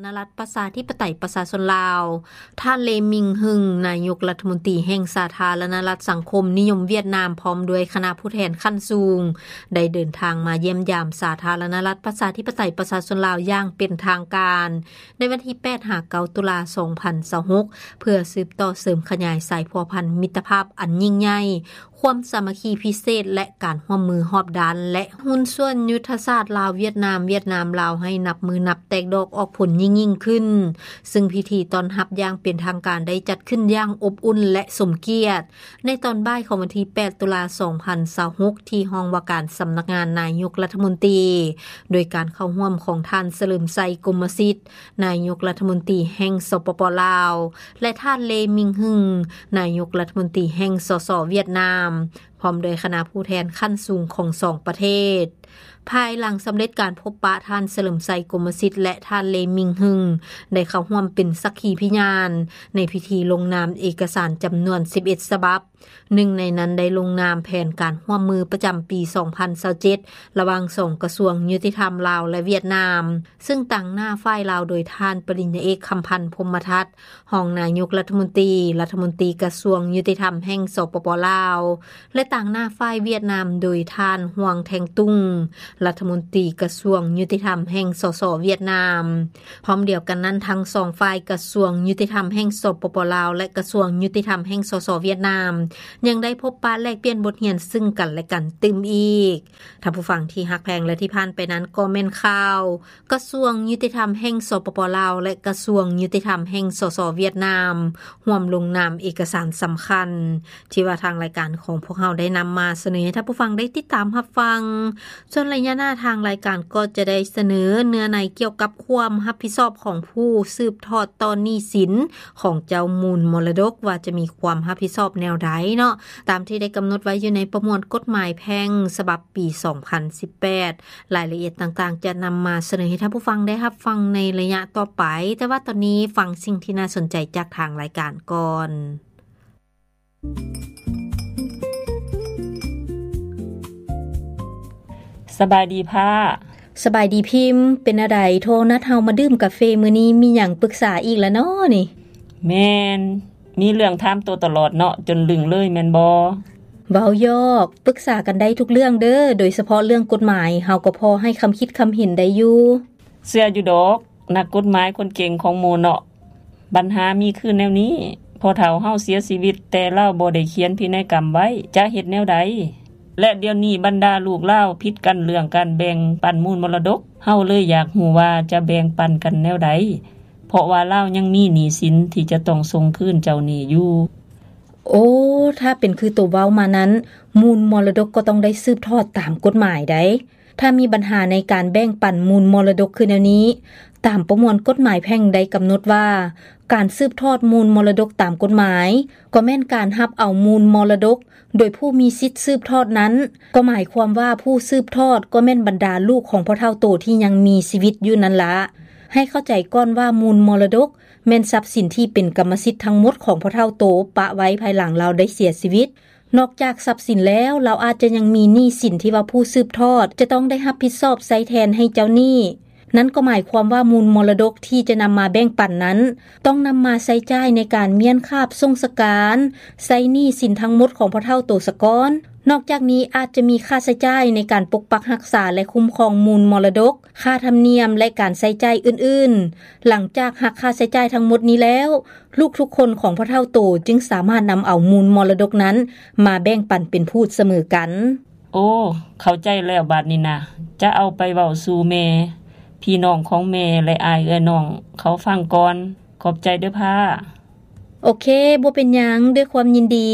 ນະລັດປະຊາທິປະໄຕປະຊາຊົນລາວ, ທ່ານ ເລ ມິງ ຮຶງ ນາຍົກລັດຖະມົນຕີແຫ່ງສາທາລະນະລັດສັງຄົມນິຍົມຫວຽດນາມ ພ້ອມດ້ວຍຄະນະຜູ້ແທນຂັ້ນສູງ ໄດ້ເດີນທາງມາຢ້ຽມຢາມສາທາລະນະລັດປະຊາທິປະໄຕປະຊາຊົນລາວຢ່າງເປັນທາງການ ໃນວັນທີແປດຫາເກົ້າຕຸລາສອງພັນຊາວຫົກ ເພື່ອສືບຕໍ່ເສີມຂະຫຍາຍສາຍພົວພັນມິດຕະພາບອັນຍິ່ງໃຫຍ່, ຄວາມສາມັກຄີພິເສດ ແລະ ການຮ່ວມມືຮອບດ້ານ ແລະ ຫຸ້ນສ່ວນຍຸດທະສາດລາວ-ຫວຽດນາມ, ຫວຽດນາມ-ລາວ ໃຫ້ນັບມື້ນັບແຕກດອກອອກຜົນຍິ່ງໆຂຶ້ນ, ຊຶ່ງພິທີຕ້ອນຮັບຢ່າງເປັນທາງການໄດ້ຈັດຂຶ້ນຢ່າງອົບອຸ່ນ ແລະ ສົມກຽດ ໃນຕອນບ່າຍຂອງວັນທີແປດຕຸລາສອງພັນຊາວຫົກ ທີ່ຫ້ອງວ່າການສຳນັກງານນາຍົກລັດຖະມົນຕີ ໂດຍການເຂົ້າຮ່ວມຂອງທ່ານ ສະເຫຼີມໄຊ ກົມມະສິດ ນາຍົກລັດຖະມົນຕີແຫ່ງ ສປປ ລາວ ແລະ ທ່ານ ເລ ມິງ ຮຶງ ນາຍົກລັດຖະມົນຕີແຫ່ງ ສສ ຫວຽດນາມ ພ້ອມດ້ວຍຄະນະຜູ້ແທນຂັ້ນສູງຂອງສອງປະເທດ. ພາຍຫຼັງສຳເລັດການພົບປະ, ທ່ານ ສະເຫຼີມໄຊ ກົມມະສິດ ແລະ ທ່ານ ເລ ມິງ ຮຶງ ໄດ້ເຂົ້າຮ່ວມເປັນສັກຂີພິຍານໃນພິທີລົງນາມເອກະສານຈຳນວນສິບເອັດສະບັບ. ໜຶ່ງໃນນັ້ນໄດ້ລົງນາມແຜນການຮ່ວມມືປະຈຳປີສອງພັນຊາວເຈັດ ລະຫວ່າງສອງກະຊວງຍຸຕິທຳລາວ ແລະ ຫວຽດນາມ, ຊຶ່ງຕາງໜ້າຝ່າຍລາວໂດຍທ່ານປະລິນຍາເອກ ຄຳພັນ ພົມມະທັດ ຮອງນາຍົກລັດຖະມົນຕີ, ລັດຖະມົນຕີກະຊວງຍຸຕິທຳແຫ່ງ ສປປ ລາວ ແລະ ຕາງໜ້າຝ່າຍຫວຽດນາມໂດຍທ່ານ ຮວງ ແທງຕຸງ ລັດຖະມົນຕີກະຊວງຍຸຕິທຳແຫ່ງ ສສ ຫວຽດນາມ. ພ້ອມດຽວກັນນັ້ນ, ທັງສອງຝ່າຍ ກະຊວງຍຸຕິທຳແຫ່ງ ສປປ ລາວ ແລະ ກະຊວງຍຸຕິທຳແຫ່ງ ສສ ຫວຽດນາມ ຍັງໄດ້ພົບປະແລກປ່ຽນບົດຮຽນຊຶ່ງກັນ ແລະ ກັນຕື່ມອີກ. ທ່ານຜູ້ຟັງທີ່ຮັກແພງ ແລະ ທີ່ຜ່ານໄປນັ້ນກໍແມ່ນຂ່າວ ກະຊວງຍຸຕິທຳແຫ່ງ ສປປ ລາວ ແລະ ກະຊວງຍຸຕິທຳແຫ່ງ ສສ ຫວຽດນາມ ຮ່ວມລົງນາມເອກະສານສຳຄັນ ທີ່ວ່າທາງລາຍການຂອງພວກເຮົາໄດ້ນຳມາສະເໜີໃຫ້ທ່ານຜູ້ຟັງໄດ້ຕິດຕາມຮັບຟັງ. ສ່ວນໄລຍະໜ້າ ທາງລາຍການກໍຈະໄດ້ສະເໜີເນື້ອໃນກ່ຽວກັບຄວາມຮັບຜິດຊອບຂອງຜູ້ສືບທອດຕໍ່ໜີ້ສິນຂອງເຈົ້າມູນມໍລະດົກ ວ່າຈະມີຄວາມຮັບຜິດຊອບແນວໃດເນາະ, ຕາມທີ່ໄດ້ກຳນົດໄວ້ຢູ່ໃນປະມວນກົດໝາຍແພ່ງສະບັບປີສອງພັນສິບແປດ. ລາຍລະອຽດຕ່າງໆຈະນຳມາສະເໜີໃຫ້ທ່ານຜູ້ຟັງໄດ້ຮັບຟັງໃນໄລຍະຕໍ່ໄປ, ແຕ່ວ່າຕອນນີ້ຟັງສິ່ງທີ່ໜ້າສົນໃຈຈາກທາງລາຍການກ່ອນ. ສະບາຍດີພ້າ. ສະບາຍດີພິມ. ເປັນແນວໃດ? ໂທນັດເຮົາມາດື່ມກາເຟມື້ນີ້ ມີຫຍັງປຶກສາອີກລະນໍນີ້? ແມ່ນ. ມີເລື່ອງຖາມໂຕຕະຫຼອດເນາະ ຈົນລຶ້ງເລີຍແມ່ນບໍ່? ເວົ້າຢອກ, ປຶກສາກັນໄດ້ທຸກເລື່ອງເດີ້, ໂດຍສະເພາະເລື່ອງກົດໝາຍ ເຮົາກໍພໍໃຫ້ຄຳຄິດຄຳເຫັນໄດ້ຢູ່. ເຊື່ອຢູ່ດອກ, ນັກກົດໝາຍຄົນເກັ່ງຂອງໝູ່ເນາະ. ບັນຫາມີຄືແນວນີ້, ພໍ່ເຖົ້າເຮົາເສຍຊີວິດ ແຕ່ລາວບໍ່ໄດ້ຂຽນພິໄນກຳໄວ້, ຈະເຮັດແນວໃດ? ແລະ ດຽວນີ້ບັນດາລູກລາວຜິດກັນເລື່ອງການແບ່ງປັນມູນມໍລະດົກ, ເຮົາເລີຍຢາກຮູ້ວ່າຈະແບ່ງປັນກັນແນວໃດ? ເພາະວ່າລາວຍັງມີໜີ້ສິນທີ່ຈະຕ້ອງສົ່ງຄືນເຈົ້າໜີ້ຢູ່. ໂອ້, ຖ້າເປັນຄືໂຕເວົ້າມານັ້ນ, ມູນມໍລະດົກກໍຕ້ອງໄດ້ສືບທອດຕາມກົດໝາຍໃດ໋. ຖ້າມີບັນຫາໃນການແບ່ງປັນມູນມໍລະດົກຄືແນວນີ້, ຕາມປະມວນກົດໝາຍແພ່ງໄດ້ກຳນົດວ່າ ການສືບທອດມູນມໍລະດົກຕາມກົດໝາຍ ກໍແມ່ນການຮັບເອົາມູນມໍລະດົກ ໂດຍຜູ້ມີສິດສືບທອດນັ້ນ, ກໍໝາຍຄວາມວ່າຜູ້ສືບທອດກໍແມ່ນບັນດາລູກຂອງພໍ່ເຖົ້າໂຕທີ່ຍັງມີຊີວິດຢູ່ນັ້ນລະ. ໃຫ້ເຂົ້າໃຈກ່ອນວ່າມູນມໍລະດົກແມ່ນຊັບສິນທີ່ເປັນກຳມະສິດທັງໝົດຂອງພໍ່ເຖົ້າໂຕປະໄວ້ພາຍຫຼັງລາວໄດ້ເສຍຊີວິດ. ນອກຈາກຊັບສິນແລ້ວ, ລາວອາດຈະຍັງມີໜີ້ສິນທີ່ວ່າຜູ້ສືບທອດຈະຕ້ອງໄດ້ຮັບຜິດຊອບໃຊ້ແທນໃຫ້ເຈົ້າໜີ້. ນັ້ນກໍໝາຍຄວາມວ່າມູນມໍລະດົກທີ່ຈະນຳມາແບ່ງປັນນັ້ນ ຕ້ອງນຳມາໃຊ້ຈ່າຍໃນການມ້ຽນຄາບສົ່ງສະການ, ໃຊ້ໜີ້ສິນທັງໝົດຂອງພໍ່ເຖົ້າໂຕສະກ່ອນ. ນອກຈາກນີ້ອາດຈະມີຄ່າໃຊ້ຈ່າຍໃນການປົກປັກຮັກສາ ແລະ ຄຸ້ມຄອງມູນມໍລະດົກ, ຄ່າທຳນຽມ ແລະ ການໃຊ້ຈ່າຍອື່ນໆ. ຫຼັງຈາກຫັກຄ່າໃຊ້ຈ່າຍທັງໝົດນີ້ແລ້ວ, ລູກທຸກຄົນຂອງພໍ່ເຖົ້າໂຕຈຶ່ງສາມາດນຳເອົາມູນມໍລະດົກນັ້ນມາແບ່ງປັນເປັນພູດສະເໝີກັນ. ໂອ້, ເຂົ້າໃຈແລ້ວບາດນີ້ນະ. ຈະເອົາໄປເວົ້າສູ່ແມ່, ພີ່ນ້ອງຂອງແມ່ ແລະ ອ້າຍເອື້ອຍນ້ອງເຂົາຟັງກ່ອນ. ຂອບໃຈເດີ້ພ້າ. ໂອເຄ, ບໍ່ເປັນຫຍັງ, ດ້ວຍຄວາມຍິນດີ.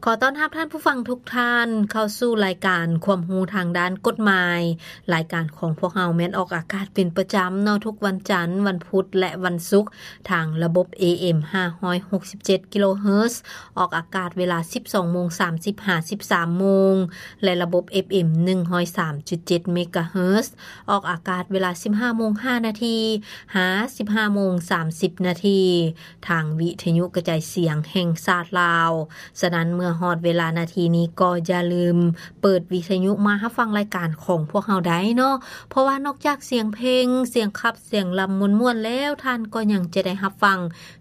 ຂໍຕ້ອນຮັບທ່ານຜູ້ຟັງທຸກທ່ານເຂົ້າສູ່ລາຍການຄວາມຮູ້ທາງດ້ານກົດໝາຍ. ລາຍການຂອງພວກເຮົາແມ່ນອອກອາກາດເປັນປະຈຳເນາະ, ທຸກວັນຈັນ, ວັນພຸດ ແລະ ວັນສຸກ ທາງລະບົບ ເອເອັມ ຫ້າຮ້ອຍຫົກສິບເຈັດກິໂລເຮີດ, ອອກອາກາດເວລາສິບສອງໂມງສາມສິບຫາສິບສາມໂມງ ແລະ ລະບົບ ເອຟເອັມ ໜຶ່ງຮ້ອຍສາມຈຸດເຈັດເມກາເຮີດ, ອອກອາກາດເວລາສິບຫ້າໂມງຫ້ານາທີ ຫາ ສິບຫ້າໂມງສາມສິບນາທີ ທາງວິທະຍຸກະຈາຍສຽງແຫ່ງຊາດລາວ. ສະນັ້ນເມື່ອ ຮອດເວລານາທີນີ້ກໍຢ່າລືມເປີດວິທະຍຸມາຮັບຟັງລາຍການຂອງພວກເຮົາໄດ້ເນາະ, ເພາະວ່ານອກຈາກສຽງເພງ, ສຽງຂັບ, ສຽງລຳມ່ວນໆແລ້ວ, ທ່ານກໍຍັງຈະໄດ້ຮັບຟັງ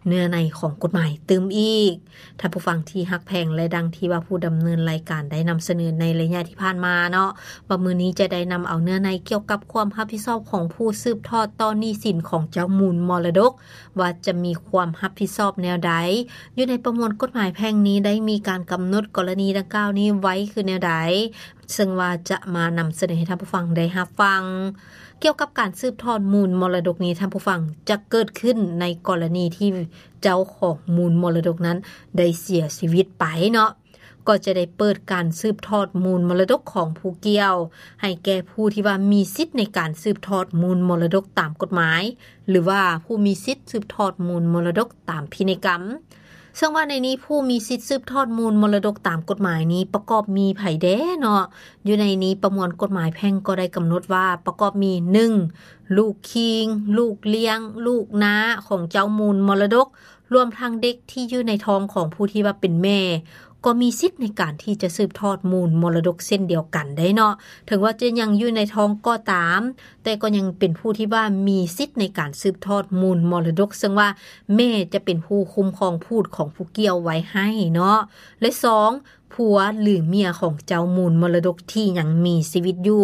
ເນື້ອໃນຂອງກົດໝາຍຕື່ມອີກ. ທ່ານຜູ້ຟັງທີ່ຮັກແພງ ແລະ ດັ່ງທີ່ວ່າຜູ້ດຳເນີນລາຍການໄດ້ນຳສະເໜີໃນໄລຍະທີ່ຜ່ານມາເນາະ, ວ່າມື້ນີ້ຈະໄດ້ນຳເອົາເນື້ອໃນກ່ຽວກັບຄວາມຮັບຜິດຊອບຂອງຜູ້ສືບທອດຕໍ່ໜີ້ສິນຂອງເຈົ້າມູນມໍລະດົກ ວ່າຈະມີຄວາມຮັບຜິດຊອບແນວໃດ. ຢູ່ໃນປະມວນກົດໝາຍແພ່ງນີ້ໄດ້ມີການກຳນົດກໍລະນີດັ່ງກ່າວນີ້ໄວ້ຄືແນວໃດ, ເຊິ່ງວ່າຈະມານຳສະເໜີໃຫ້ທ່ານຜູ້ຟັງໄດ້ຮັບຟັງ. ກ່ຽວກັບການສືບທອດມູນມໍລະດົກນີ້, ທ່ານຜູ້ຟັງ, ຈະເກີດຂຶ້ນໃນກໍລະນີທີ່ເຈົ້າຂອງມູນມໍລະດົກນັ້ນໄດ້ເສຍຊີວິດໄປເນາະ, ກໍຈະໄດ້ເປີດການສືບທອດມູນມໍລະດົກຂອງຜູ້ກ່ຽວ ໃຫ້ແກ່ຜູ້ທີ່ວ່າມີສິດໃນການສືບທອດມູນມໍລະດົກຕາມກົດໝາຍ ຫຼືວ່າຜູ້ມີສິດສືບທອດມູນມໍລະດົກຕາມພິໄນກຳ. ເຊິ່ງວ່າໃນນີ້ຜູ້ມີສິດສືບທອດມູນມໍລະດົກຕາມກົດໝາຍນີ້ປະກອບມີໃຜແດ່ເນາະ? ຢູ່ໃນນີ້ປະມວນກົດໝາຍແພ່ງກໍໄດ້ກຳນົດວ່າປະກອບມີ ໜຶ່ງ ລູກຄີງ, ລູກລ້ຽງ, ລູກນ້າຂອງເຈົ້າມູນມໍລະດົກ, ລວມທັງເດັກທີ່ຢູ່ໃນທ້ອງຂອງຜູ້ທີ່ວ່າເປັນແມ່ ກໍມີສິດໃນການທີ່ຈະສືບທອດມູນມໍລະດົກເຊັ່ນດຽວກັນໄດ້ເນາະ. ເຖິງວ່າຈະຍັງຢູ່ໃນທ້ອງກໍຕາມ, ແຕ່ກໍຍັງເປັນຜູ້ທີ່ວ່າມີສິດໃນການສືບທອດມູນມໍລະດົກ, ເຊິ່ງວ່າແມ່ຈະເປັນຜູ້ຄຸ້ມຄອງພູດຂອງຜູ້ກ່ຽວໄວ້ໃຫ້ເນາະ. ແລະ ສອງ ຜົວ ຫຼື ເມຍຂອງເຈົ້າມູນມໍລະດົກທີ່ຍັງມີຊີວິດຢູ່.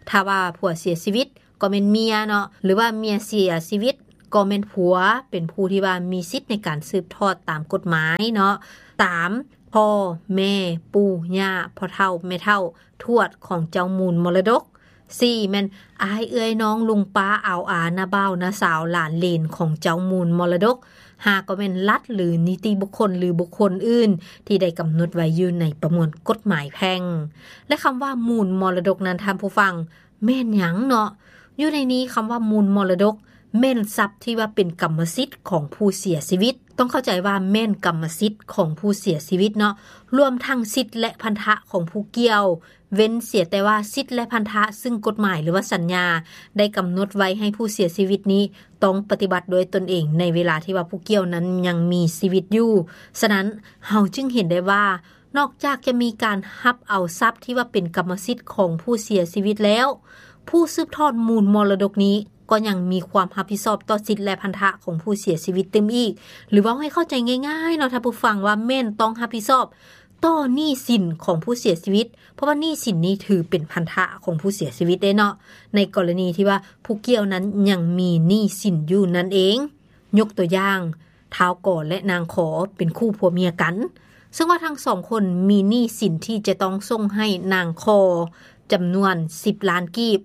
ຖ້າວ່າຜົວເສຍຊີວິດ ກໍແມ່ນເມຍເນາະ, ຫຼືວ່າເມຍເສຍຊີວິດ ກໍແມ່ນຜົວ ເປັນຜູ້ທີ່ວ່າມີສິດໃນການສືບທອດຕາມກົດໝາຍເນາະ. ສາມ ພໍ່ ແມ່ ປູ່ ຍ່າ ພໍ່ເຖົ້າ ແມ່ເຖົ້າ ທວດຂອງເຈົ້າມູນມໍລະດົກ. ສີ່ ແມ່ນອ້າຍ ເອື້ອຍ ນ້ອງ ລຸງ ປ້າ ອາວ ອາ ນ້າບ່າວ ນ້າສາວ ຫຼານ ເຫຼນຂອງເຈົ້າມູນມໍລະດົກ. ຫ້າ ກໍແມ່ນລັດ ຫຼື ນິຕິບຸກຄົນ ຫຼື ບຸກຄົນອື່ນທີ່ໄດ້ກຳນົດໄວ້ຢູ່ໃນປະມວນກົດໝາຍແພ່ງ. ແລະ ຄຳວ່າມູນມໍລະດົກນັ້ນ ທ່ານຜູ້ຟັງ, ແມ່ນຫຍັງເນາະ? ຢູ່ໃນນີ້ຄຳວ່າມູນມໍລະດົກ ແມ່ນຊັບທີ່ວ່າເປັນກຳມະສິດຂອງຜູ້ເສຍຊີວິດ. ຕ້ອງເຂົ້າໃຈວ່າແມ່ນກຳມະສິດຂອງຜູ້ເສຍຊີວິດເນາະ, ລວມທັງສິດ ແລະ ພັນທະຂອງຜູ້ກ່ຽວ, ເວັ້ນເສຍແຕ່ວ່າສິດ ແລະ ພັນທະ ຊຶ່ງກົດໝາຍ ຫຼືວ່າສັນຍາໄດ້ກຳນົດໄວ້ໃຫ້ຜູ້ເສຍຊີວິດນີ້ຕ້ອງປະຕິບັດດ້ວຍຕົນເອງໃນເວລາທີ່ວ່າຜູ້ກ່ຽວນັ້ນຍັງມີຊີວິດຢູ່. ສະນັ້ນ ເຮົາຈຶ່ງເຫັນໄດ້ວ່າ ນອກຈາກຈະມີການຮັບເອົາຊັບທີ່ວ່າເປັນກຳມະສິດຂອງຜູ້ເສຍຊີວິດແລ້ວ, ຜູ້ສືບທອດມູນມໍລະດົກນີ້ກໍຍັງມີຄວາມຮັບຜິດຊອບຕໍ່ສິດ ແລະ ພັນທະຂອງຜູ້ເສຍຊີວິດຕື່ມອີກ. ຫຼືເວົ້າໃຫ້ເຂົ້າໃຈງ່າຍໆເນາະທ່ານຜູ້ຟັງ, ວ່າແມ່ນຕ້ອງຮັບຜິດຊອບຕໍ່ໜີ້ສິນຂອງຜູ້ເສຍຊີວິດ, ເພາະວ່າໜີ້ສິນນີ້ຖືເປັນພັນທະຂອງຜູ້ເສຍຊີວິດເດ້ເນາະ, ໃນກໍລະນີທີ່ວ່າຜູ້ກ່ຽວນັ້ນຍັງມີໜີ້ສິນຢູ່ນັ້ນເອງ. ຍົກຕົວຢ່າງ, ທ້າວກໍ ແລະ ນາງຂໍ ເປັນຄູ່ຜົວເມຍກັນ, ເຊິ່ງວ່າທັງສອງຄົນມີໜີ້ສິນທີ່ຈະຕ້ອງສົ່ງໃຫ້ນາງຂໍຈຳນວນສິບລ້ານກີບ.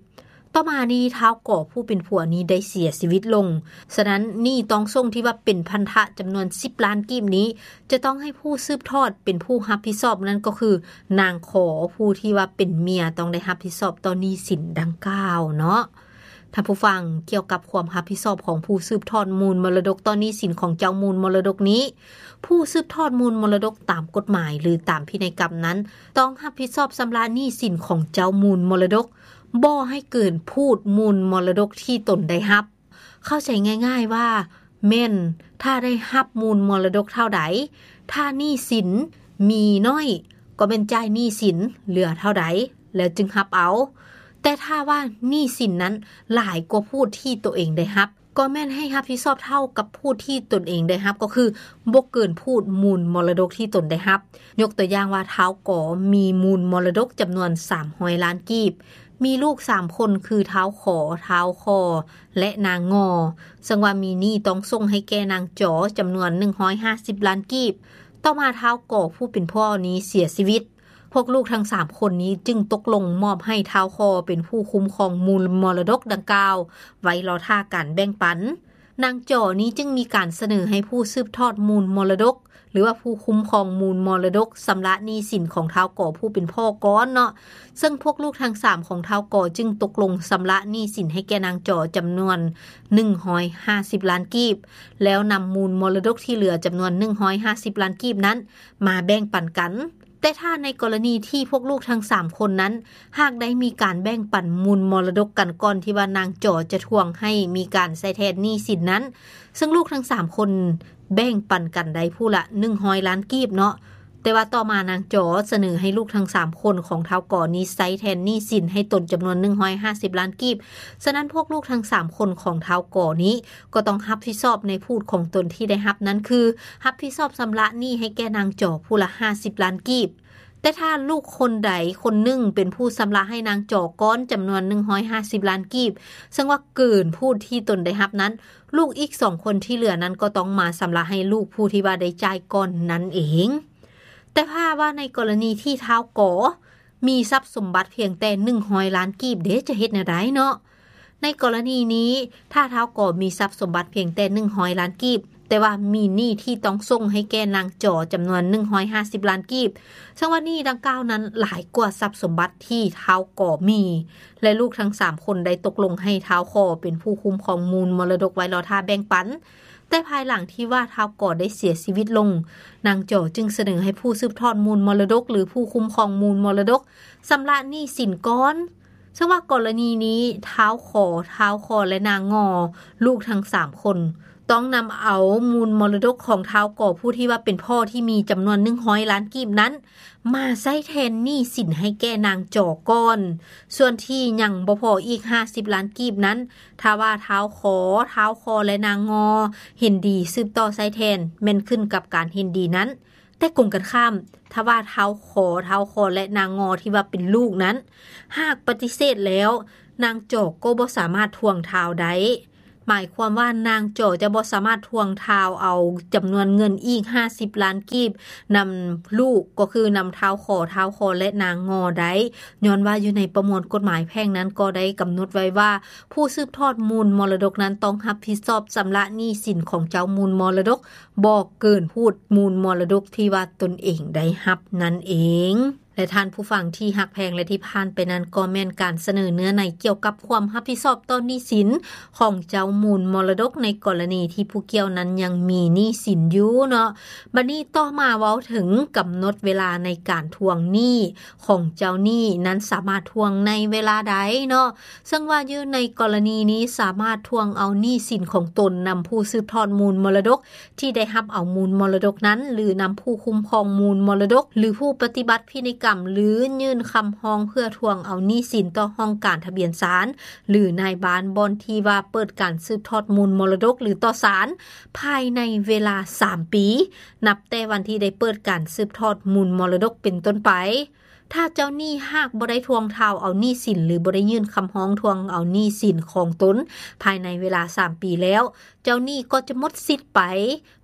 ຕໍ່ມານີ້ ທ້າວກໍ ຜູ້ເປັນຜົວນີ້ໄດ້ເສຍຊີວິດລົງ, ສະນັ້ນ ໜີ້ຕ້ອງສົ່ງທີ່ວ່າເປັນພັນທະຈຳນວນສິບລ້ານກີບນີ້ ຈະຕ້ອງໃຫ້ຜູ້ສືບທອດເປັນຜູ້ຮັບຜິດຊອບ, ນັ້ນກໍຄືນາງຂໍ ຜູ້ທີ່ວ່າເປັນເມຍ ຕ້ອງໄດ້ຮັບຜິດຊອບຕໍ່ໜີ້ສິນດັ່ງກ່າວເນາະ. ທ່ານຜູ້ຟັງ, ກ່ຽວກັບຄວາມຮັບຜິດຊອບຂອງຜູ້ສືບທອດມູນມໍລະດົກຕໍ່ໜີ້ສິນຂອງເຈົ້າມູນມໍລະດົກນີ້, ຜູ້ສືບທອດມູນມໍລະດົກຕາມກົດໝາຍ ຫຼື ຕາມພິໄນກຳນັ້ນ ຕ້ອງຮັບຜິດຊອບຊຳລະໜີ້ສິນຂອງເຈົ້າມູນມໍລະດົກ ບໍ່ໃຫ້ເກີນພູດມູນມໍລະດົກທີ່ຕົນໄດ້ຮັບ. ເຂົ້າໃຈງ່າຍໆວ່າ ແມ່ນຖ້າໄດ້ຮັບມູນມໍລະດົກເທົ່າໃດ, ຖ້າໜີ້ສິນມີໜ້ອຍ ກໍແມ່ນຈ່າຍໜີ້ສິນເຫຼືອເທົ່າໃດ ແລ້ວຈຶ່ງຮັບເອົາ. ແຕ່ຖ້າວ່າໜີ້ສິນນັ້ນຫຼາຍກວ່າພູດທີ່ຕົວເອງໄດ້ຮັບ, ກໍແມ່ນໃຫ້ຮັບຜິດຊອບເທົ່າກັບພູດທີ່ຕົນເອງໄດ້ຮັບ, ກໍຄືບໍ່ເກີນພູດມູນມໍລະດົກທີ່ຕົນໄດ້ຮັບ. ຍົກຕົວຢ່າງວ່າ ທ້າວກໍ ມີມູນມໍລະດົກຈຳນວນສາມຮ້ອຍລ້ານກີບ, ມີລູກສາມຄົນ ຄື ທ້າວຂໍ, ທ້າວຄໍ ແລະ ນາງງໍ, ເຊິ່ງວ່າມີໜີ້ຕ້ອງສົ່ງໃຫ້ແກ່ນາງຈໍຈຳນວນໜຶ່ງຮ້ອຍຫ້າສິບລ້ານກີບ. ຕໍ່ມາ ທ້າວກໍ ຜູ້ເປັນພໍ່ນີ້ເສຍຊີວິດ. ພວກລູກທັງສາມຄົນນີ້ຈຶ່ງຕົກລົງມອບໃຫ້ທ້າວຄໍເປັນຜູ້ຄຸ້ມຄອງມູນມໍລະດົກດັ່ງກ່າວ ໄວ້ລໍຖ້າການແບ່ງປັນ. ນາງຈໍນີ້ຈຶ່ງມີການສະເໜີໃຫ້ຜູ້ສືບທອດມູນມໍລະດົກ ຫຼືວ່າຜູ້ຄຸ້ມຄອງມູນມໍລະດົກ ຊຳລະໜີ້ສິນຂອງທ້າວກໍຜູ້ເປັນພໍ່ກ່ອນເນາະ, ເຊິ່ງພວກລູກທັງສາມຂອງທ້າວກໍຈຶ່ງຕົກລົງຊຳລະໜີ້ສິນໃຫ້ແກ່ນາງຈໍຈຳນວນໜຶ່ງຮ້ອຍຫ້າສິບລ້ານກີບ, ແລ້ວນຳມູນມໍລະດົກທີ່ເຫຼືອຈຳນວນໜຶ່ງຮ້ອຍຫ້າສິບລ້ານກີບນັ້ນມາແບ່ງປັນກັນ. ແຕ່ຖ້າໃນກໍລະນີທີ່ພວກລູກທັງສາມຄົນນັ້ນ ຫາກໄດ້ມີການແບ່ງປັນມູນມໍລະດົກກັນກ່ອນທີ່ວ່ານາງຈໍຈະທວງໃຫ້ມີການໃຊ້ແທນໜີ້ສິນນັ້ນ, ເຊິ່ງລູກທັງສາມຄົນແບ່ງປັນກັນໄດ້ຜູ້ລະໜຶ່ງຮ້ອຍລ້ານກີບເນາະ, ແຕ່ວ່າຕໍ່ມານາງຈໍສະເໜີໃຫ້ລູກທັງສາມຄົນຂອງທ້າວກໍນີ້ໃຊ້ແທນໜີ້ສິນໃຫ້ຕົນຈຳນວນໜຶ່ງຮ້ອຍຫ້າສິບລ້ານກີບ. ສະນັ້ນພວກລູກທັງສາມຄົນຂອງທ້າວກໍນີ້ກໍຕ້ອງຮັບຜິດຊອບໃນພູດຂອງຕົນທີ່ໄດ້ຮັບນັ້ນຄື ຮັບຜິດຊອບຊຳລະໜີ້ໃຫ້ແກ່ນາງຈໍຜູ້ລະຫ້າສິບລ້ານກີບ. ແຕ່ຖ້າລູກຄົນໃດຄົນໜຶ່ງເປັນຜູ້ຊຳລະໃຫ້ນາງຈໍກ່ອນຈຳນວນໜຶ່ງຮ້ອຍຫ້າສິບລ້ານກີບ ເຊິ່ງວ່າເກີນພູດທີ່ຕົນໄດ້ຮັບນັ້ນ ລູກອີກສອງຄົນທີ່ເຫຼືອນັ້ນກໍຕ້ອງມາຊຳລະໃຫ້ລູກຜູ້ທີ່ວ່າໄດ້ຈ່າຍກ່ອນນັ້ນເອງ. ແຕ່ຖ້າວ່າໃນກໍລະນີທີ່ທ້າວກໍມີຊັບສົມບັດພຽງແຕ່ໜຶ່ງຮ້ອຍລ້ານກີບເດ ຈະເຮັດແນວໃດເນາະ? ໃນກໍລະນີນີ້ ຖ້າທ້າວກໍມີຊັບສົມບັດພຽງແຕ່ໜຶ່ງຮ້ອຍລ້ານກີບ ແຕ່ວ່າມີໜີ້ທີ່ຕ້ອງສົ່ງໃຫ້ແກ່ນາງຈໍຈຳນວນໜຶ່ງຮ້ອຍຫ້າສິບລ້ານກີບ ເຊິ່ງວ່າໜີ້ດັ່ງກ່າວນັ້ນຫຼາຍກວ່າຊັບສົມບັດທີ່ທ້າວກໍມີ ແລະ ລູກທັງສາມຄົນໄດ້ຕົກລົງໃຫ້ທ້າວຂໍເປັນຜູ້ຄຸ້ມຄອງມູນມໍລະດົກໄວ້ລໍຖ້າແບ່ງປັນ. ແຕ່ພາຍຫຼັງທີ່ວ່າທ້າວກໍໄດ້ເສຍຊີວິດລົງ, ນາງຈໍຈຶ່ງສະເໜີໃຫ້ຜູ້ສືບທອດມູນມໍລະດົກ ຫຼື ຜູ້ຄຸ້ມຄອງມູນມໍລະດົກ ຊຳລະໜີ້ສິນກ່ອນ. ເຊິ່ງວ່າກໍລະນີນີ້ ທ້າວຂອ, ທ້າວຄອ ແລະ ນາງງໍ ລູກທັງສາມຄົນ ຕ້ອງນຳເອົາມູນມໍລະດົກຂອງທ້າວກໍ ຜູ້ທີ່ວ່າເປັນພໍ່ທີ່ມີຈຳນວນໜຶ່ງຮ້ອຍລ້ານກີບນັ້ນ ມາໃຊ້ແທນໜີ້ສິນໃຫ້ແກ່ນາງຈໍກ່ອນ. ສ່ວນທີ່ຍັງບໍ່ພໍອີກຫ້າສິບລ້ານກີບນັ້ນ ຖ້າວ່າທ້າວຂອ, ທ້າວຄອ ແລະ ນາງງໍ ເຫັນດີສືບຕໍ່ໃຊ້ແທນ ແມ່ນຂຶ້ນກັບການເຫັນດີນັ້ນ. ແຕ່ກົງກັນຂ້າມ, ຖ້າວ່າທ້າວຂອ, ທ້າວຄອ ແລະ ນາງງໍ ທີ່ວ່າເປັນລູກນັ້ນ ຫາກປະຕິເສດແລ້ວ, ນາງຈໍກໍບໍ່ສາມາດທວງທ້າວໄດ້. ໝາຍຄວາມວ່ານາງຈໍຈະບໍ່ສາມາດທວງທ້າວເອົາຈຳນວນເງິນອີກຫ້າສິບລ້ານກີບນຳລູກ, ກໍຄືນຳທ້າວຂອ, ທ້າວຄອ ແລະ ນາງງໍໄດ້, ຍ້ອນວ່າຢູ່ໃນປະມວນກົດໝາຍແພ່ງນັ້ນກໍໄດ້ກຳນົດໄວ້ວ່າ ຜູ້ສືບທອດມູນມໍລະດົກນັ້ນຕ້ອງຮັບຜິດຊອບຊຳລະໜີ້ສິນຂອງເຈົ້າມູນມໍລະດົກ ບໍ່ເກີນພູດມູນມໍລະດົກທີ່ວ່າຕົນເອງໄດ້ຮັບນັ້ນເອງ. ແລະ ທ່ານຜູ້ຟັງທີ່ຮັກແພງ ແລະ ທີ່ຜ່ານໄປນັ້ນ ກໍແມ່ນການສະເໜີເນື້ອໃນກ່ຽວກັບຄວາມຮັບຜິດຊອບຕໍ່ໜີ້ສິນຂອງເຈົ້າມູນມໍລະດົກ ໃນກໍລະນີທີ່ຜູ້ກ່ຽວນັ້ນຍັງມີໜີ້ສິນຢູ່ເນາະ. ບັດນີ້ຕໍ່ມາເວົ້າເຖິງກຳນົດເວລາໃນການທວງໜີ້ຂອງເຈົ້າໜີ້ນັ້ນ ສາມາດທວງໃນເວລາໃດເນາະ. ເຊິ່ງວ່າຢູ່ໃນກໍລະນີນີ້ ສາມາດທວງເອົາໜີ້ສິນຂອງຕົນນຳຜູ້ສືບທອດມູນມໍລະດົກ ທີ່ໄດ້ຮັບເອົາມູນມໍລະດົກນັ້ນ ຫຼື ນຳຜູ້ຄຸ້ມຄອງມູນມໍລະດົກ ຫຼື ຜູ້ປະຕິບັດພິໄນກຳ ຫຼື ຍື່ນຄຳຮ້ອງເພື່ອທວງເອົາໜີ້ສິນຕໍ່ຫ້ອງການທະບຽນສານ ຫຼື ນາຍບ້ານບ່ອນທີ່ວ່າເປີດການສືບທອດມູນມໍລະດົກ ຫຼື ຕໍ່ສານ ພາຍໃນເວລາສາມປີ ນັບແຕ່ວັນທີ່ໄດ້ເປີດການສືບທອດມູນມໍລະດົກເປັນຕົ້ນໄປ. ຖ້າເຈົ້າໜີ້ຫາກບໍ່ໄດ້ທວງທ້າວເອົາໜີ້ສິນ ຫຼື ບໍ່ໄດ້ຍື່ນຄຳຮ້ອງທວງເອົາໜີ້ສິນຂອງຕົນພາຍໃນເວລາສາມປີແລ້ວ, ເຈົ້າໜີ້ກໍຈະໝົດສິດໄປ,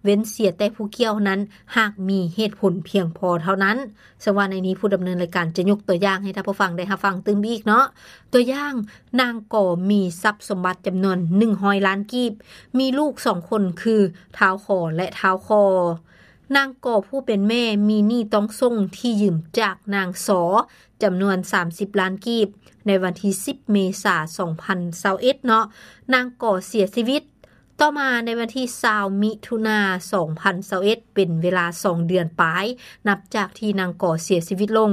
ເວັ້ນເສຍແຕ່ຜູ້ກ່ຽວນັ້ນຫາກມີເຫດຜົນພຽງພໍເທົ່ານັ້ນ. ເຊິ່ງວ່າໃນນີ້ຜູ້ດຳເນີນລາຍການຈະຍົກຕົວຢ່າງໃຫ້ທ່ານຜູ້ຟັງໄດ້ຮັບຟັງຕື່ມອີກເນາະ. ຕົວຢ່າງ, ນາງກໍມີຊັບສົມບັດຈຳນວນໜຶ່ງຮ້ອຍລ້ານກີບ, ມີລູກສອງຄົນຄື ທ້າວຂອ ແລະ ທ້າວຄອ. ນາງກໍຜູ້ເປັນແມ່ມີໜີ້ຕ້ອງສົ່ງທີ່ຢືມຈາກນາງຊໍ ຈຳນວນສາມສິບລ້ານກີບ ໃນວັນທີສິບ ເມສາ ສອງພັນຊາວເອັດເນາະ, ນາງກໍເສຍຊີວິດ. ຕໍ່ມາໃນວັນທີຊາວ ມິຖຸນາ ສອງພັນຊາວເອັດ ເປັນເວລາສອງເດືອນປາຍ ນັບຈາກທີ່ນາງກໍເສຍຊີວິດລົງ,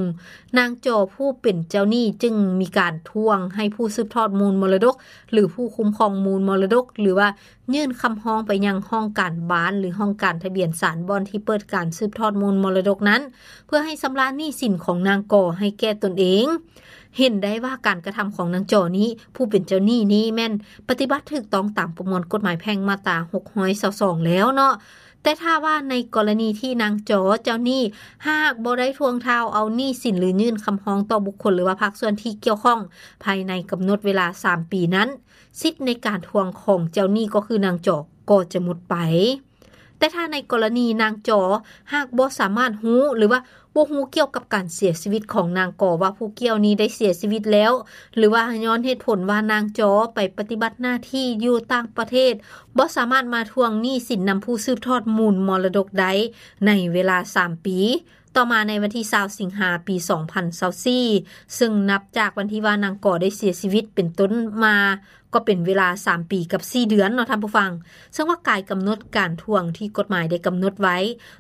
ນາງຈໍຜູ້ເປັນເຈົ້າໜີ້ຈຶ່ງມີການທວງໃຫ້ຜູ້ສືບທອດມູນມໍລະດົກ ຫຼື ຜູ້ຄຸ້ມຄອງມູນມໍລະດົກ ຫຼືວ່າ ຍື່ນຄຳຮ້ອງໄປຍັງຫ້ອງການບ້ານ ຫຼື ຫ້ອງການທະບຽນສານ ບ່ອນທີ່ເປີດການສືບທອດມູນມໍລະດົກນັ້ນ ເພື່ອໃຫ້ຊຳລະໜີ້ສິນຂອງນາງກໍໃຫ້ແກ່ຕົນເອງ. ເຫັນໄດ້ວ່າການກະທຳຂອງນາງຈໍນີ້ ຜູ້ເປັນເຈົ້າໜີ້ນີ້ແມ່ນປະຕິບັດຖືກຕ້ອງຕາມປະມວນກົດໝາຍແພ່ງມາດຕາຫົກຮ້ອຍຊາວສອງແລ້ວເນາະ. ແຕ່ຖ້າວ່າໃນກໍລະນີທີ່ນາງຈໍເຈົ້າໜີ້ຫາກບໍ່ໄດ້ທວງທ້າວເອົາໜີ້ສິນ ຫຼື ຍື່ນຄຳຮ້ອງຕໍ່ບຸກຄົນ ຫຼືວ່າພາກສ່ວນທີ່ກ່ຽວຂ້ອງ ພາຍໃນກຳນົດເວລາສາມປີນັ້ນ, ສິດໃນການທວງຂອງເຈົ້າໜີ້ກໍຄືນາງຈໍກໍຈະໝົດໄປ. ແຕ່ຖ້າໃນກໍລະນີນາງຈໍຫາກບໍ່ສາມາດຮູ້ ຫຼືວ່າບໍ່ຮູ້ກ່ຽວກັບການເສຍຊີວິດຂອງນາງກໍ ວ່າຜູ້ກ່ຽວນີ້ໄດ້ເສຍຊີວິດແລ້ວ ຫຼືວ່າຍ້ອນເຫດຜົນວ່ານາງຈໍໄປປະຕິບັດໜ້າທີ່ຢູ່ຕ່າງປະເທດ ບໍ່ສາມາດມາທວງໜີ້ສິນນຳຜູ້ສືບທອດມູນມໍລະດົກໄດ້ໃນເວລາສາມປີ. ຕໍ່ມາໃນວັນທີຊາວ ສິງຫາ ປີສອງພັນຊາວສີ່ ເຊິ່ງນັບຈາກວັນທີ່ວ່ານາງກໍໄດ້ເສຍຊີວິດເປັນຕົ້ນມາ ກໍເປັນເວລາ ສາມປີກັບ ສີ່ເດືອນເນາະທ່ານຜູ້ຟັງ ເຊິ່ງວ່າກາຍກຳນົດການທວງທີ່ກົດໝາຍໄດ້ກຳນົດໄວ້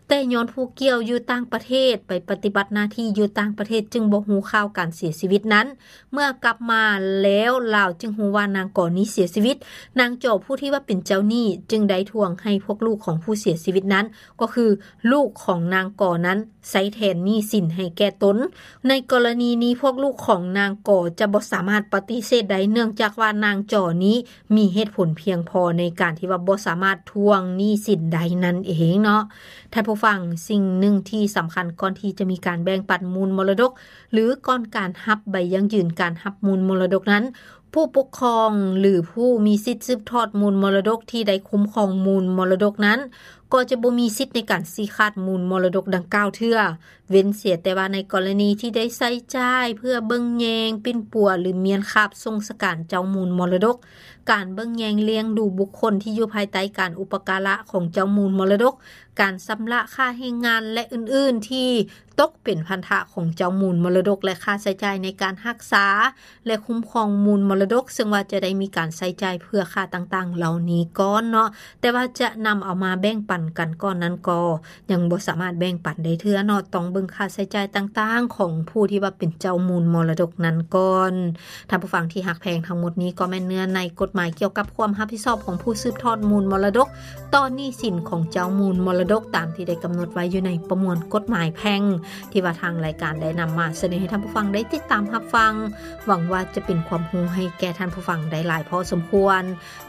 ແຕ່ຍ້ອນຜູ້ກ່ຽວຢູ່ຕ່າງປະເທດ ໄປປະຕິບັດໜ້າທີ່ຢູ່ຕ່າງປະເທດ ຈຶ່ງບໍ່ຮູ້ຂ່າວການເສຍຊີວິດນັ້ນ ເມື່ອກັບມາແລ້ວລາວຈຶ່ງຮູ້ວ່ານາງກໍນີ້ເສຍຊີວິດ ນາງຈໍຜູ້ທີ່ວ່າເປັນເຈົ້າໜີ້ ຈຶ່ງໄດ້ທວງໃຫ້ພວກລູກຂອງຜູ້ເສຍຊີວິດນັ້ນ ກໍຄືລູກຂອງນາງກໍນັ້ນ ໃຊ້ແທນໜີ້ສິນໃຫ້ແກ່ຕົນ. ໃນກໍລະນີນີ້ພວກລູກຂອງນາງກໍຈະບໍ່ສາມາດປະຕິເສດໄດ້ ເນື່ອງຈາກວ່ານາງຈໍນີ້ມີເຫດຜົນພຽງພໍໃນການທີ່ວ່າບໍ່ສາມາດທວງໜີ້ສິນໄດ້ນັ້ນເອງເນາະ. ທ່ານຜູ້ຟັງ ສິ່ງໜຶ່ງທີ່ສຳຄັນກ່ອນທີ່ຈະມີການແບ່ງປັນມູນມໍລະດົກ ຫຼື ກ່ອນການຮັບໃບຢັ້ງຢືນການຮັບມູນມໍລະດົກນັ້ນ ຜູ້ປົກຄອງ ຫຼື ຜູ້ມີສິດສືບທອດມູນມໍລະດົກທີ່ໄດ້ຄຸ້ມຄອງມູນມໍລະດົກນັ້ນ ກໍຈະບໍ່ມີສິດໃນການຊີ້ຂາດມູນມໍລະດົກດັ່ງກ່າວເທື່ອ ເວັ້ນເສຍແຕ່ວ່າໃນກໍລະນີທີ່ໄດ້ໃຊ້ຈ່າຍເພື່ອເບິ່ງແຍງ, ປິ່ນປົວ ຫຼື ມ້ຽນຄາບສົ່ງສະການເຈົ້າມູນມໍລະດົກ, ການເບິ່ງແຍງລ້ຽງດູບຸກຄົນທີ່ຢູ່ພາຍໃຕ້ການອຸປະກາລະຂອງເຈົ້າມູນມໍລະດົກ, ການຊຳລະຄ່າແຮງງານ ແລະ ອື່ນໆ ທີ່ຕົກເປັນພັນທະຂອງເຈົ້າມູນມໍລະດົກ ແລະ ຄ່າໃຊ້ຈ່າຍໃນການຮັກສາ ແລະ ຄຸ້ມຄອງມູນມໍລະດົກ ເຊິ່ງວ່າຈະໄດ້ມີການໃຊ້ຈ່າຍເພື່ອຄ່າຕ່າງໆເຫຼົ່ານີ້ກ່ອນເນາະ, ແຕ່ວ່າຈະນຳເອົາມາແບ່ງປັນກັນກ່ອນນັ້ນກໍຍັງບໍ່ສາມາດແບ່ງປັນໄດ້ເທື່ອເນາະ, ຕ້ອງເບິ່ງຄ່າໃຊ້ຈ່າຍຕ່າງໆຂອງຜູ້ທີ່ວ່າເປັນເຈົ້າມູນມໍລະດົກນັ້ນກ່ອນ. ທ່ານຜູ້ຟັງທີ່ຮັກແພງ, ທັງໝົດນີ້ກໍແມ່ນເນື້ອໃນກົດໝາຍກ່ຽວກັບຄວາມຮັບຜິດຊອບຂອງຜູ້ສືບທອດມູນມໍລະດົກ ຕໍ່ໜີ້ສິນຂອງເຈົ້າມູນມໍລະດົກ ຕາມທີ່ໄດ້ກຳນົດໄວ້ຢູ່ໃນປະມວນກົດໝາຍແພ່ງ ທີ່ວ່າທາງລາຍການໄດ້ນຳມາສະເໜີໃຫ້ທ່ານຜູ້ຟັງໄດ້ຕິດຕາມຮັບຟັງ. ຫວັງວ່າຈະເປັນຄວາມຮູ້ໃຫ້ແກ່ທ່ານຜູ້ຟັງໄດ້ຫຼາຍພໍສົມຄວນ.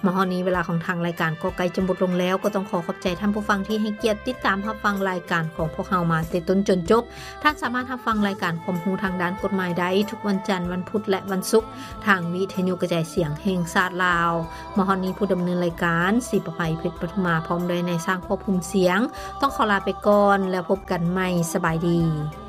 ມາຮອດນີ້ເວລາຂອງທາງລາຍການກໍໃກ້ຈະໝົດລົງແລ້ວ, ກໍຕ້ອງຂໍຂອບໃຈທ່ານຜູ້ຟັງທີ່ໃຫ້ກຽດຕິດຕາມຮັບຟັງລາຍການຂອງພວກເຮົາມາແຕ່ຕົ້ນຈົນຈົບ. ທ່ານສາມາດຮັບຟັງລາຍການຄວາມຮູ້ທາງດ້ານກົດໝາຍໄດ້ທຸກວັນຈັນ, ວັນພຸດ ແລະ ວັນສຸກ ທາງວິທະຍຸກະຈາຍສຽງແຫ່ງຊາດລາວ. ມາຮອດນີ້ຜູ້ດຳເນີນລາຍການ ສີປະໄພ ເພັດປະທຸມາ ພ້ອມດ້ວຍນາຍຊ່າງຄວບຄຸມສຽງ ຕ້ອງຂໍລາໄປກ່ອນ ແລ້ວພົບກັນໃໝ່. ສະບາຍດີ.